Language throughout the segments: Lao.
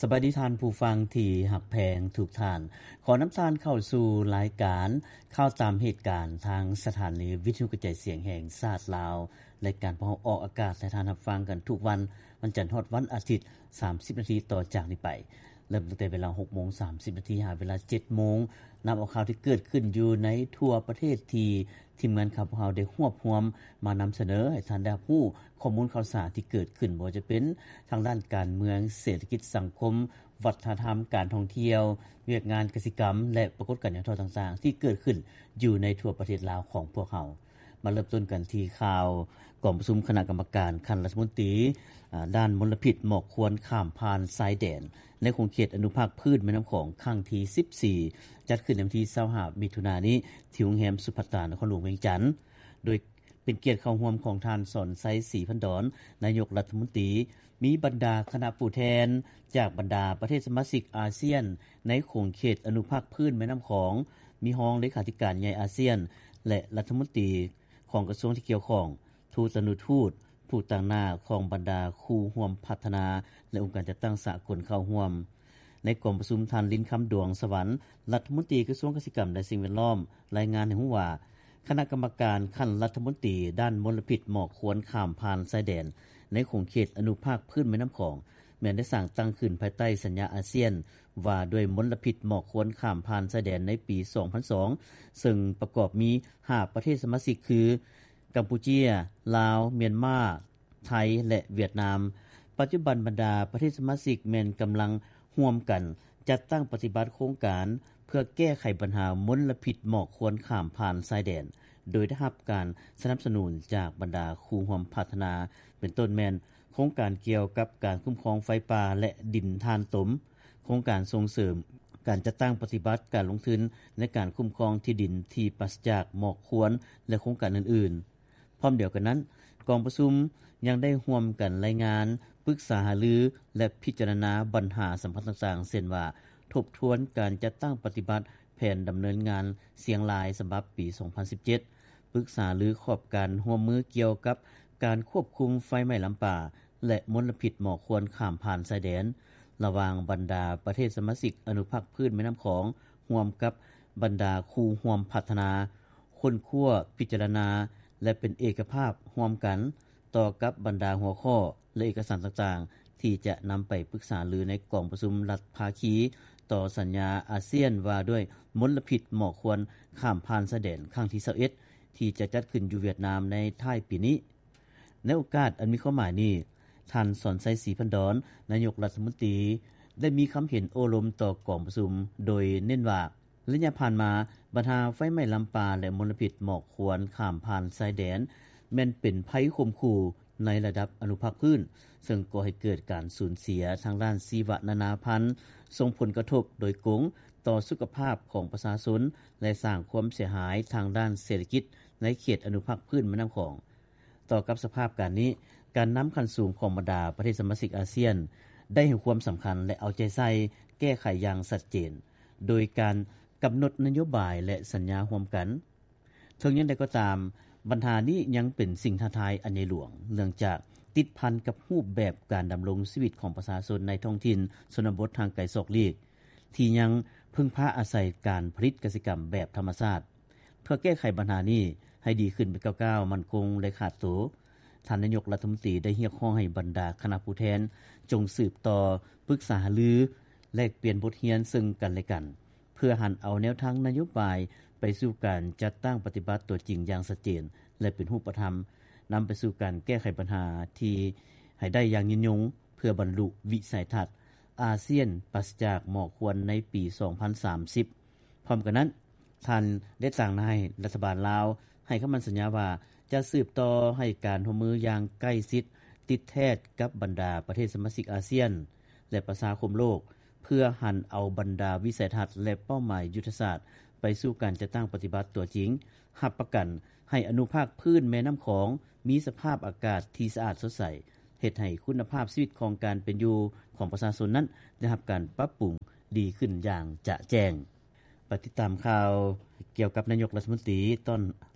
ສະບາຍດີທ່ານຜູ້ຟັງທີ່ຮັກແພງທຸກທ່ານ. ຂໍນຳທ່ານເຂົ້າສູ່ລາຍການຂ່າວຕາມເຫດການ ທາງສະຖານີວິທະຍຸກະຈາຍສຽງແຫ່ງຊາດລາວ. ລາຍການພວກເຮົາອອກອາກາດໃຫ້ທ່ານຮັບຟັງກັນທຸກວັນ ວັນຈັນຮອດວັນອາທິດ ສາມສິບນາທີຕໍ່ຈາກນີ້ໄປ. ເລີ່ມຕັ້ງແຕ່ເວລາຫົກໂມງສາມສິບນາທີ ຫາເວລາເຈັດໂມງ. ນຳເອົາຂ່າວທີ່ເກີດຂຶ້ນຢູ່ໃນທົ່ວປະເທດ ທີ່ທີມງານຂ່າວພວກເຮົາໄດ້ຮວບຮວມມານຳສະເໜີໃຫ້ທ່ານໄດ້ຮັບຮູ້ ຂໍ້ມູນຂ່າວສານທີ່ເກີດຂຶ້ນ ບໍ່ວ່າຈະເປັນທາງດ້ານການເມືອງ, ເສດຖະກິດ, ສັງຄົມ, ວັດທະນະທຳ, ການທ່ອງທ່ຽວ, ວຽກງານກະສິກຳ ແລະ ປາກົດການຫຍໍ້ທໍ້ຕ່າງໆ ທີ່ເກີດຂຶ້ນຢູ່ໃນທົ່ວປະເທດລາວຂອງພວກເຮົາ. ມາເລີ່ມຕົ້ນກັນທີ່ຂ່າວກອງປະຊຸມຄະນະກຳມະການຂັ້ນລັດຖະມົນຕີ ອາ ດ້ານມົນລະພິດໝອກຄວັນຂ້າມຜ່ານຊາຍແດນ ໃນຂົງເຂດອະນຸພາກພືດແມ່ນ້ຳຂອງ ຄັ້ງທີສິບສີ່ ຈັດຂຶ້ນໃນວັນທີຊາວຫ້າ ມິຖຸນານີ້ ທີ່ໂຮງແຮມສຸພັດຕາ ນະຄອນຫຼວງວຽງຈັນ ໂດຍເປັນກຽດເຂົ້າຮ່ວມຂອງທ່ານ ສອນໄຊ ສີພັນດອນ ນາຍົກລັດຖະມົນຕີ, ມີບັນດາຄະນະຜູ້ແທນຈາກບັນດາປະເທດສະມາຊິກອາຊຽນ ໃນຂົງເຂດອະນຸພາກພື້ນແມ່ນ້ຳຂອງ, ມີຮອງເລຂາທິການໃຫຍ່ອາຊຽນ ແລະ ລັດຖະມົນຕີຂອງກະຊວງທີ່ກ່ຽວຂ້ອງ, ທູດຕານຸທູດ, ຜູ້ຕາງໜ້າຂອງບັນດາຄູ່ຮ່ວມພັດທະນາ ແລະ ອົງການຈັດຕັ້ງສາກົນເຂົ້າຮ່ວມ. ໃນກອງປະຊຸມ, ທ່ານ ລິນຄຳດວງສະຫວັນ ລັດຖະມົນຕີກະຊວງກະສິກຳ ແລະ ສິ່ງແວດລ້ອມ ລາຍງານໃຫ້ຮູ້ວ່າ ຄະນະກຳມະການຂັ້ນລັດຖະມົນຕີດ້ານມົນລະພິດໝອກຄວັນຂ້າມຜ່ານຊາຍແດນ ໃນຂົງເຂດອະນຸພາກພື້ນແມ່ນ້ຳຂອງ ແມ່ນໄດ້ສ້າງຕັ້ງຂຶ້ນພາຍໃຕ້ສັນຍາອາຊຽນ ວ່າດ້ວຍມົນລະພິດໝອກຄວັນຂ້າມຜ່ານຊາຍແດນໃນປີສອງພັນສອງ ເຊິ່ງປະກອບມີຫ້າປະເທດສະມາຊິກຄື ກຳປູເຈຍ, ລາວ, ມຽນມາ, ໄທ ແລະ ຫວຽດນາມ. ປັດຈຸບັນບັນດາປະເທດສະມາຊິກແມ່ນກຳລັງຮ່ວມກັນຈັດຕັ້ງປະຕິບັດໂຄງການ ເພື່ອແກ້ໄຂບັນຫາມົນລະພິດໝອກຄວັນຂ້າມຜ່ານຊາຍແດນ ໂດຍໄດ້ຮັບການສະໜັບສະໜູນຈາກບັນດາຄູ່ຮ່ວມພັດທະນາ ເປັນຕົ້ນແມ່ນໂຄງການກ່ຽວກັບການຄຸ້ມຄອງໄຟປ່າ ແລະ ດິນຖ່ານຕົມ, ໂຄງການສົ່ງເສີມການຈັດຕັ້ງປະຕິບັດການລົງທຶນໃນການຄຸ້ມຄອງທີ່ດິນທີ່ປາສະຈາກໝອກຄວັນ ແລະ ໂຄງການອື່ນໆ. ພ້ອມດຽວກັນນັ້ນ, ກອງປະຊຸມຍັງໄດ້ຮ່ວມກັນລາຍງານ, ປຶກສາຫາລື ແລະ ພິຈາລະນາບັນຫາສຳຄັນຕ່າງໆ ເຊັ່ນວ່າ ທົບທວນການຈັດຕັ້ງປະຕິບັດແຜນດຳເນີນງານຊຽງລາຍສະບັບປີສອງພັນສິບເຈັດ, ປຶກສາລືຂອບການຮ່ວມມືກ່ຽວກັບການຄວບຄຸມໄຟໄໝ້ລຳປາ ແລະ ມົນລະພິດໝອກຄວັນຂ້າມຜ່ານຊາຍແດນ ລະຫວ່າງບັນດາປະເທດສະມາຊິກອະນຸພາກພື້ນແມ່ນ້ຳຂອງ ຮ່ວມກັບບັນດາຄູ່ຮ່ວມພັດທະນາ, ຄົ້ນຄວ້າ, ພິຈາລະນາ ແລະ ເປັນເອກະພາບຮ່ວມກັນຕໍ່ກັບບັນດາຫົວຂໍ້ ແລະ ເອກະສານຕ່າງໆ ທີ່ຈະນຳໄປປຶກສາລືໃນກອງປະຊຸມລັດພາຄີຕໍ່ສັນຍາອາຊຽນວ່າດ້ວຍມົນລະພິດໝອກຄວັນຂ້າມຜ່ານຊາຍແດນຄັ້ງທີຊາວເອັດ ທີ່ຈະຈັດຂຶ້ນຢູ່ຫວຽດນາມໃນທ້າຍປີນີ້. ໃນໂອກາດອັນມີຄວາມໝາຍນີ້, ທ່ານ ສອນໄຊ ສີພັນດອນ ນາຍົກລັດຖະມົນຕີ ໄດ້ມີຄຳເຫັນໂອ້ລົມຕໍ່ກອງປະຊຸມ ໂດຍເນັ້ນວ່າ ໄລຍະຜ່ານມາ, ບັນຫາໄຟໄໝ້ລຳປາ ແລະ ມົນລະພິດໝອກຄວັນຂ້າມຜ່ານຊາຍແດນ ແມ່ນເປັນໄພຂົ່ມຂູ່ໃນລະດັບອະນຸພາກພື້ນ, ເຊິ່ງກໍ່ໃຫ້ເກີດການສູນເສຍທາງດ້ານຊີວະນານາພັນ, ສົ່ງຜົນກະທົບໂດຍກົງຕໍ່ສຸຂະພາບຂອງປະຊາຊົນ ແລະ ສ້າງຄວາມເສຍຫາຍທາງດ້ານເສດຖະກິດໃນເຂດອະນຸພາກພື້ນແມ່ນ້ຳຂອງ. ຕໍ່ກັບສະພາບການນີ້, ການນຳຂັ້ນສູງຂອງບັນດາປະເທດສະມາຊິກອາຊຽນ ໄດ້ໃຫ້ຄວາມສຳຄັນ ແລະ ເອົາໃຈໃສ່ແກ້ໄຂຢ່າງຊັດເຈນ ໂດຍການກຳນົດນະໂຍບາຍ ແລະ ສັນຍາຮ່ວມກັນ. ເຖິງຢ່າງໃດກໍຕາມ, ບັນຫານີ້ຍັງເປັນສິ່ງທ້າທາຍອັນໃຫຍ່ຫຼວງ ເນື່ອງຈາກຕິດພັນກັບຮູບແບບການດຳລົງຊີວິດຂອງປະຊາຊົນໃນທ້ອງຖິ່ນຊົນນະບົດຫ່າງໄກສອກຫຼີກ ທີ່ຍັງເພິ່ງພາອາໄສການຜະລິດກະສິກຳແບບທຳມະຊາດ. ເພື່ອແກ້ໄຂບັນຫານີ້ໃຫ້ດີຂຶ້ນເປັນກ້າວໆ ໝັ້ນຄົງ ແລະ ຂາດໂຕ, ທ່ານນາຍົກລັດຖະມົນຕີໄດ້ຮຽກຮ້ອງໃຫ້ບັນດາຄະນະຜູ້ແທນ ຈົ່ງສືບຕໍ່ປຶກສາຫາລື, ແລກປ່ຽນບົດຮຽນເຊິ່ງກັນແລະກັນ, ເພື່ອຫັນເອົາແນວທາງນະໂຍບາຍໄປສູ່ການຈັດຕັ້ງປະຕິບັດຕົວຈິງຢ່າງຊັດເຈນ ແລະ ເປັນຮູບປະທຳ, ນຳໄປສູ່ການແກ້ໄຂບັນຫາທີ່ໃຫ້ໄດ້ຢ່າງຍືນຍົງ ເພື່ອບັນລຸວິໄສທັດອາຊຽນປາສະຈາກໝອກຄວັນໃນປີສອງພັນສາມສິບ. ພ້ອມກັນນັ້ນ, ທ່ານໄດ້ຕາງໜ້າໃຫ້ລັດຖະບານລາວໃຫ້ຄຳໝັ້ນສັນຍາວ່າ ຈະສືບຕໍ່ໃຫ້ການຮ່ວມມືຢ່າງໃກ້ຊິດ ຕິດແທດກັບບັນດາປະເທດສະມາຊິກອາຊຽນ ແລະ ປະຊາຄົມໂລກ ເພື່ອຫັນເອົາບັນດາວິໄສທັດ ແລະ ເປົ້າໝາຍຍຸດທະສາດໄປສູ່ການຈັດຕັ້ງປະຕິບັດຕົວຈິງ, ຮັບປະກັນໃຫ້ອະນຸພາກພື້ນແມ່ນ້ຳຂອງມີສະພາບອາກາດທີ່ສະອາດສົດໃສ, ເຮັດໃຫ້ຄຸນນະພາບຊີວິດຂອງການເປັນຢູ່ຂອງປະຊາຊົນນັ້ນໄດ້ຮັບການປັບປຸງດີຂຶ້ນຢ່າງຈະແຈ້ງ. ໄປຕິດຕາມຂ່າວກ່ຽວກັບນາຍົກລັດຖະມົນຕີຕ້ອນ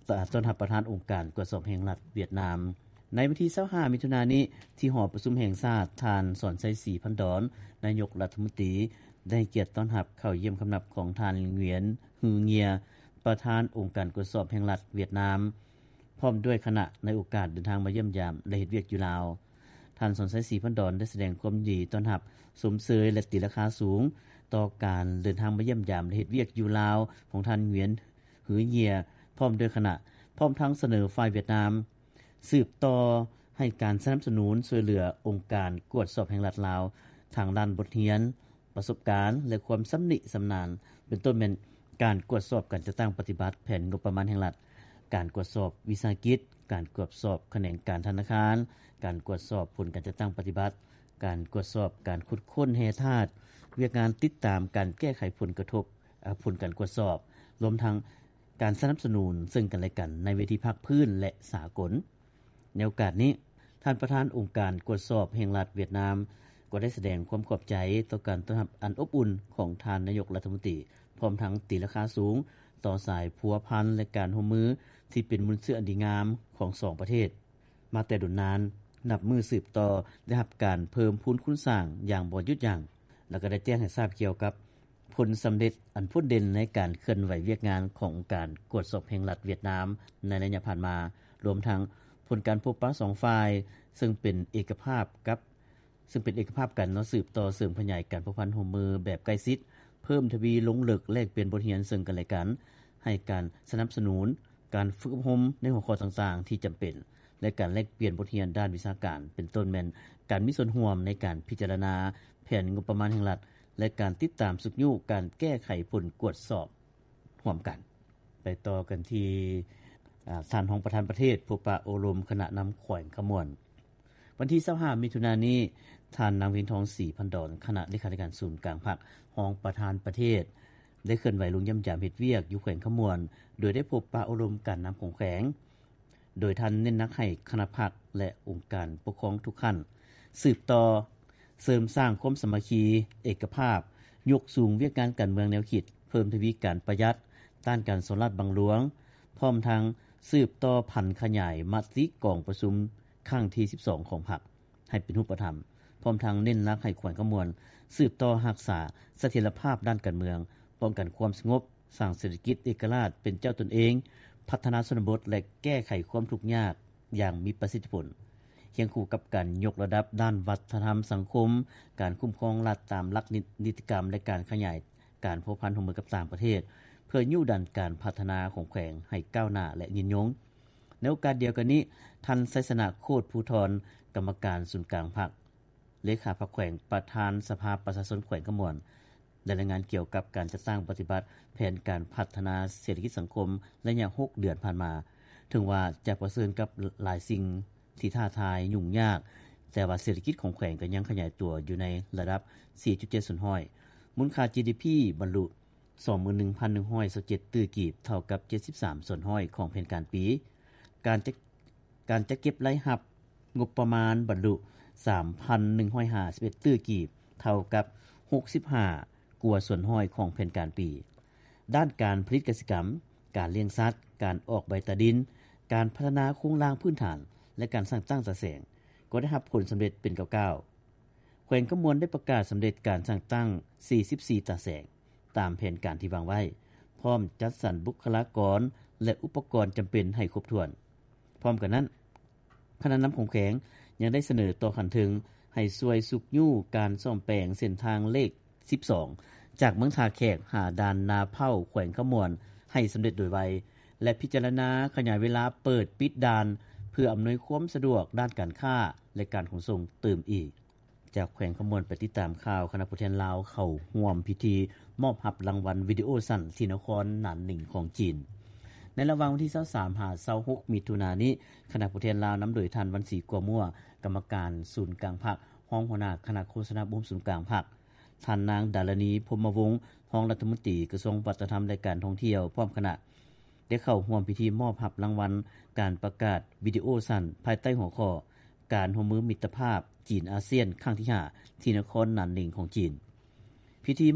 ຕ້ອນຮັບປະທານອົງການກວດສອບແຫ່ງລັດຫວຽດນາມ. ໃນວັນທີ ຊາວຫ້າ ມິຖຸນານີ້ ທີ່ຫໍປະຊຸມແຫ່ງຊາດ, ທ່ານ ສອນໄຊ ສີພັນດອນ ນາຍົກລັດຖະມົນຕີ ໄດ້ໃຫ້ກຽດຕ້ອນຮັບເຂົ້າຢ້ຽມຄຳນັບຂອງທ່ານ ຫງວຽນ ຮືເງຍ ປະທານອົງການກວດສອບແຫ່ງລັດຫວຽດນາມ ພ້ອມດ້ວຍຄະນະ ໃນໂອກາດເດີນທາງມາຢ້ຽມຢາມ ແລະ ເຮັດວຽກຢູ່ລາວ. ທ່ານ ສອນໄຊ ສີພັນດອນ ໄດ້ສະແດງຄວາມຍິນດີຕ້ອນຮັບ, ຊົມເຊີຍ ແລະ ຕີລາຄາສູງ ຕໍ່ການເດີນທາງມາຢ້ຽມຢາມ ແລະ ເຮັດວຽກຢູ່ລາວ ຂອງທ່ານ ຫງວຽນ ຮືເງຍ ພ້ອມດ້ວຍຄະນະ, ພ້ອມທັງສະເໜີຝ່າຍຫວຽດນາມ ສືບຕໍ່ໃຫ້ການສະໜັບສະໜູນຊ່ວຍເຫຼືອອົງການກວດສອບແຫ່ງລັດລາວ ທາງດ້ານບົດຮຽນ, ປະສົບການ ແລະ ຄວາມຊຳນິຊຳນານ, ເປັນຕົ້ນແມ່ນການກວດສອບການຈັດຕັ້ງປະຕິບັດແຜນງົບປະມານແຫ່ງລັດ, ການກວດສອບວິສາຫະກິດ, ການກວດສອບຂະແໜງການທະນາຄານ, ການກວດສອບຜົນການຈັດຕັ້ງປະຕິບັດ, ການກວດສອບການຂຸດຄົ້ນແຮ່ທາດ, ວຽກງານຕິດຕາມການແກ້ໄຂຜົນກະທົບ, ເອີ ຜົນການກວດສອບ, ລວມທັງການສະໜັບສະໜູນເຊິ່ງກັນແລະກັນໃນເວທີພາກພື້ນ ແລະ ສາກົນ. ໃນໂອກາດນີ້, ທ່ານປະທານອົງການກວດສອບແຫ່ງລັດຫວຽດນາມ ກໍໄດ້ສະແດງຄວາມຂອບໃຈຕໍ່ການຕ້ອນຮັບອັນອົບອຸ່ນຂອງທ່ານນາຍົກລັດຖະມົນຕີ, ພ້ອມທັງຕີລາຄາສູງຕໍ່ສາຍພົວພັນ ແລະ ການຮ່ວມມືທີ່ເປັນມູນເຊື້ອອັນດີງາມຂອງສອງປະເທດມາແຕ່ດົນນານ, ນັບມື້ສືບຕໍ່ໄດ້ຮັບການເພີ່ມພູນຄູນສ້າງຢ່າງບໍ່ຢຸດຢັ້ງ ແລະ ກໍໄດ້ແຈ້ງໃຫ້ຊາບກ່ຽວກັບ ຜົນສຳເລັດອັນໂດດເດັ່ນໃນການເຄື່ອນໄຫວວຽກງານຂອງອົງການກວດສອບແຫ່ງລັດຫວຽດນາມໃນໄລຍະຜ່ານມາ, ລວມທັງຜົນການພົບປະສອງຝ່າຍ ເຊິ່ງເປັນເອກະພາບກັບ ເຊິ່ງເປັນເອກະພາບກັນເນາະ, ສືບຕໍ່ເສີມຂະຫຍາຍການພົວພັນຮ່ວມມືແບບໃກ້ຊິດ, ເພີ່ມທະວີລົງເລິກແລກປ່ຽນບົດຮຽນເຊິ່ງກັນແລະກັນ, ໃຫ້ການສະໜັບສະໜູນການຝຶກອົບຮົມໃນຫົວຂໍ້ຕ່າງໆທີ່ຈຳເປັນ ແລະ ການແລກປ່ຽນບົດຮຽນດ້ານວິຊາການ, ເປັນຕົ້ນແມ່ນການມີສ່ວນຮ່ວມໃນການພິຈາລະນາແຜນງົບປະມານແຫ່ງລັດ ແລະ ການຕິດຕາມຊຸກຍູ້ການແກ້ໄຂຜົນກວດສອບຮ່ວມກັນ. ໄປຕໍ່ກັນທີ່ ອາ ທ່ານຮອງປະທານປະເທດ ພົບປະໂອ້ລົມຄະນະນຳແຂວງຄຳມ່ວນ. ວັນທີ ຊາວຫ້າ ມິຖຸນານີ້, ທ່ານນາງ ວຽງທອງ ສີພັນດອນ ຄະນະເລຂາທິການສູນກາງພັກ, ຮອງປະທານປະເທດ ໄດ້ເຄື່ອນໄຫວລົງຢ້ຽມຢາມເຮັດວຽກຢູ່ແຂວງຄຳມ່ວນ, ໂດຍໄດ້ພົບປະໂອ້ລົມການນຳຂອງແຂວງ. ໂດຍທ່ານເນັ້ນໜັກໃຫ້ຄະນະພັກ ແລະ ອົງການປົກຄອງທຸກຂັ້ນ ສືບຕໍ່ເສີມສ້າງຄວາມສາມັກຄີ, ເອກະພາບ, ຍົກສູງວຽກງານການເມືອງແນວຄິດ, ເພີ່ມທະວີການປະຢັດ, ຕ້ານການສໍ້ລາດບັງຫຼວງ, ພ້ອມທັງສືບຕໍ່ຜັນຂະຫຍາຍມະຕິກອງປະຊຸມຄັ້ງທີ ສິບສອງ ຂອງພັກ ໃຫ້ເປັນຮູບປະທຳ, ພ້ອມທັງເນັ້ນໜັກໃຫ້ແຂວງຄຳມ່ວນສືບຕໍ່ຮັກສາສະຖຽນລະພາບດ້ານການເມືອງ, ປ້ອງກັນຄວາມສະຫງົບ, ສ້າງເສດຖະກິດເອກະລາດເປັນເຈົ້າຕົນເອງ, ພັດທະນາຊົນນະບົດ ແລະ ແກ້ໄຂຄວາມທຸກຍາກຢ່າງມີປະສິດທິຜົນ, ຄຽງຄູ່ກັບການຍົກລະດັບດ້ານວັດທະນະທຳສັງຄົມ, ການຄຸ້ມຄອງລັດຕາມຫຼັກນິ ນິຕິກຳ ແລະ ການຂະຫຍາຍການພົວພັນຮ່ວມມືກັບຕ່າງປະເທດ ເພື່ອຍູ້ດັນການພັດທະນາຂອງແຂວງໃຫ້ກ້າວໜ້າ ແລະ ຍືນຍົງ. ໃນໂອກາດດຽວກັນນີ້, ທ່ານ ໄຊຊະນະ ໂຄດພູທອນ ກຳມະການສູນກາງພັກ, ເລຂາພັກແຂວງ, ປະທານສະພາປະຊາຊົນແຂວງຄຳມ່ວນ ໄດ້ລາຍງານກ່ຽວກັບການຈັດຕັ້ງປະຕິບັດແຜນການພັດທະນາເສດຖະກິດສັງຄົມໄລຍະຫົກເດືອນຜ່ານມາ. ເຖິງວ່າຈະປະເຊີນກັບຫຼາຍສິ່ງທີ່ທ້າທາຍຫຍຸ້ງຍາກ, ແຕ່ວ່າເສດຖະກິດຂອງແຂວງກໍຍັງຂະຫຍາຍຕົວຢູ່ໃນລະດັບສີ່ຈຸດເຈັດສ່ວນຮ້ອຍ, ມູນຄ່າ ຈີດີພີ ບັນລຸ ສອງໝື່ນໜຶ່ງພັນໜຶ່ງຮ້ອຍຊາວເຈັດຕື້ກີບ, ເທົ່າກັບເຈັດສິບສາມສ່ວນຮ້ອຍຂອງແຜນການປີ. ການຈັດ ການຈັດເກັບລາຍຮັບງົບປະມານບັນລຸ ສາມພັນໜຶ່ງຮ້ອຍຫ້າສິບເອັດຕື້ກີບ, ເທົ່າກັບຫົກສິບຫ້າກວ່າສ່ວນຮ້ອຍຂອງແຜນການປີ. ດ້ານການຜະລິດກະສິກຳ, ການລ້ຽງສັດ, ການອອກໃບຕາດິນ, ການພັດທະນາໂຄງລ່າງພື້ນຖານ ແລະ ການສ້າງຕັ້ງຕາແສງ ກໍໄດ້ຮັບຜົນສຳເລັດເປັນກ້າວໆ. ແຂວງຄຳມ່ວນໄດ້ປະກາດສຳເລັດການສ້າງຕັ້ງສີ່ສິບສີ່ຕາແສງ ຕາມແຜນການທີ່ວາງໄວ້, ພ້ອມຈັດສັນບຸກຄະລາກອນ ແລະ ອຸປະກອນຈຳເປັນໃຫ້ຄົບຖ້ວນ. ພ້ອມກັນນັ້ນ, ຄະນະນຳຂອງແຂວງຍັງໄດ້ສະເໜີຕໍ່ຂັ້ນເທິງໃຫ້ຊ່ວຍຊຸກຍູ້ການສ້ອມແປງເສັ້ນທາງເລກສິບສອງ ຈາກເມືອງທ່າແຂກຫາດ່ານນາເພົ້າ ແຂວງຄຳມ່ວນ ໃຫ້ສຳເລັດໂດຍໄວ ແລະ ພິຈາລະນາຂະຫຍາຍເວລາເປີດປິດດ່ານ ເພື່ອອຳນວຍຄວາມສະດວກດ້ານການຄ້າ ແລະ ການຂົນສົ່ງຕື່ມອີກ. ຈາກແຂວງຄຳມ່ວນໄປຕິດຕາມຂ່າວ, ຄະນະຜູ້ແທນລາວເຂົ້າຮ່ວມພິທີມອບຮັບລາງວັນວິດີໂອສັ້ນທີ່ນະຄອນໜານໜິງຂອງຈີນ. ໃນລະຫວ່າງວັນທີ ຊາວສາມ ຫາ ຊາວຫົກ ມິຖຸນານີ້, ຄະນະຜູ້ແທນລາວນຳໂດຍທ່ານ ວັນສີ ກົວມົວ ກຳມະການສູນກາງພັກ, ຮອງຫົວໜ້າຄະນະໂຄສະນາອົບຮົມສູນກາງພັກ, ທ່ານນາງ ດາລະນີ ພົມມະວົງ ຮອງລັດຖະມົນຕີກະຊວງວັດທະນະທຳ ແລະ ການທ່ອງທ່ຽວ ພ້ອມຄະນະ ໄດ້ເຂົ້າຮ່ວມພິທີມອບຮັບລາງວັນການປະກາດວິດີໂອສັ້ນ ພາຍໃຕ້ຫົວຂໍ້ ການຮ່ວມມືມິດຕະພາບຈີນອາຊຽນຄັ້ງທີຫ້າ ທີ່ນະຄອນໜານໜິງຂອງຈີນ. ພິທີ